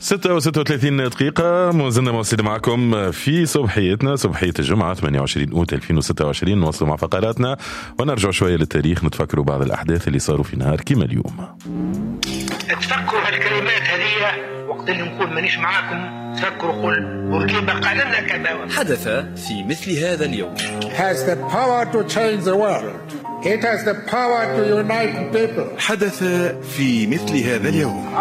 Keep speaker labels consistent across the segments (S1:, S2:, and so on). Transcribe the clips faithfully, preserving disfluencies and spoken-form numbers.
S1: ستة وستة وثلاثين دقيقة، ما زلنا مواصلين معكم في صبحيتنا، صبحية الجمعة ثمانية وعشرين أوت ألفين وستة وعشرين. نواصلوا مع فقراتنا ونرجع شوية للتاريخ، نتفكروا بعض الأحداث اللي صاروا في نهار كما اليوم.
S2: تفكروا هالكلمات هذه وقت اللي نقول مانيش معاكم، تفكروا قول بورقيبة قال لنا كذا.
S3: حدث في مثل هذا اليوم.
S4: has the power to change the world. It has the power to unite people.
S5: حدث في مثل هذا اليوم.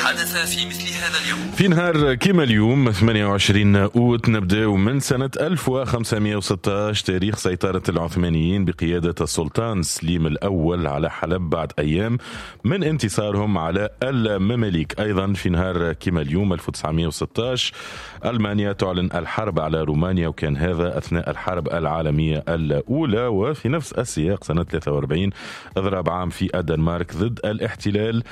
S3: حدث في مثل هذا اليوم.
S1: في نهار كما اليوم ثمانية وعشرين أوت، نبدأ من سنة ألف وخمسمئة وستة عشر، تاريخ سيطرة العثمانيين بقيادة السلطان سليم الأول على حلب بعد أيام من انتصارهم على المماليك. أيضا في نهار كما اليوم ألف وتسعمئة وستة عشر، ألمانيا تعلن الحرب على رومانيا، وكان هذا أثناء الحرب العالمية الأولى. وفي نفس السياق سنة ثلاثة وأربعين، إضراب عام في الدنمارك ضد الاحتلال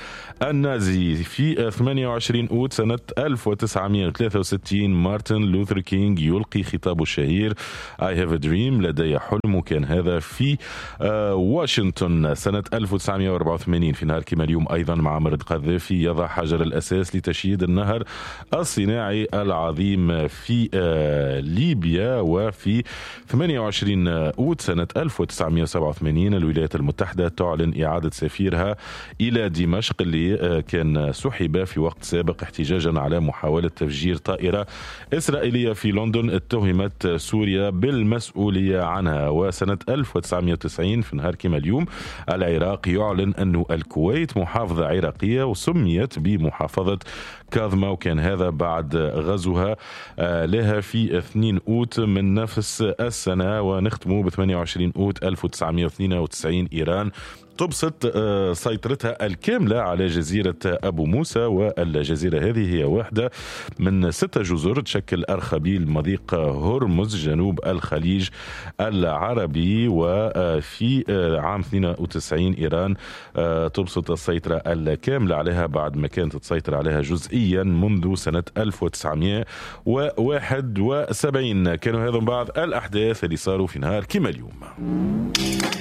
S1: النازي. في ثمانية وعشرين أوت سنة ألف وتسعمئة وثلاثة وستين، مارتن لوثر كينج يلقي خطابه الشهير I have a dream، لدي حلم، وكان هذا في آه، واشنطن. سنة ألف وتسعمئة وأربعة وثمانين في نهار كما اليوم أيضا، معمر القذافي يضع حجر الأساس لتشييد النهر الصناعي العظيم في آه، ليبيا. وفي ثمانية وعشرين أوت سنة ألف وتسعمئة وسبعة وثمانين، الولايات المتحدة تعلن إعادة سفيرها إلى دمشق اللي آه، كان سحب في وقت سابق احتجاجا على محاولة تفجير طائرة إسرائيلية في لندن اتهمت سوريا بالمسؤولية عنها. وسنة ألف وتسعمئة وتسعين في نهار كما اليوم، العراق يعلن أن الكويت محافظة عراقية وسميت بمحافظة كاظمة، وكان هذا بعد غزوها آه، لها في اثنين أوت من نفس السنة. ونختم ب ثمانية وعشرين أوت ألف وتسعمئة واثنين وتسعين، إيران تبسط آه، سيطرتها الكاملة على جزيرة أبو موسى، والجزيرة هذه هي واحدة من ستة جزر تشكل أرخبيل مضيق هرمز جنوب الخليج العربي. وفي آه، عام اثنين وتسعين إيران آه، تبسط السيطرة الكاملة عليها بعد ما كانت تسيطر عليها جزئيا منذ سنة ألف وتسعمئة وواحد وسبعين. كانوا هذا بعض الأحداث اللي صاروا في نهار كما اليوم.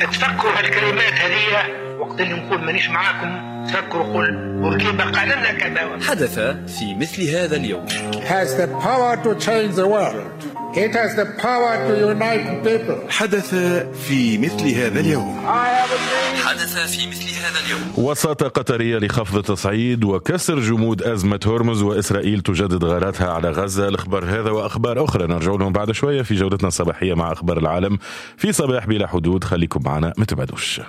S2: تفكروا هالكلمات هذه وقت اللي نقول مانيش معاكم، تفكروا قول بورقيبة قال لنا كذا.
S3: حدث في مثل هذا اليوم.
S4: has the power to change the world. It has the power to unite people.
S5: حدث في مثل هذا اليوم.
S3: حدث في مثل هذا اليوم.
S1: وساطة قطرية لخفض التصعيد وكسر جمود أزمة هرمز، وإسرائيل تجدد غاراتها على غزة. الأخبار هذا وأخبار أخرى نرجع لهم بعد شوية في جولتنا الصباحية مع أخبار العالم في صباح بلا حدود. خليكم معنا، ما تبعدوش.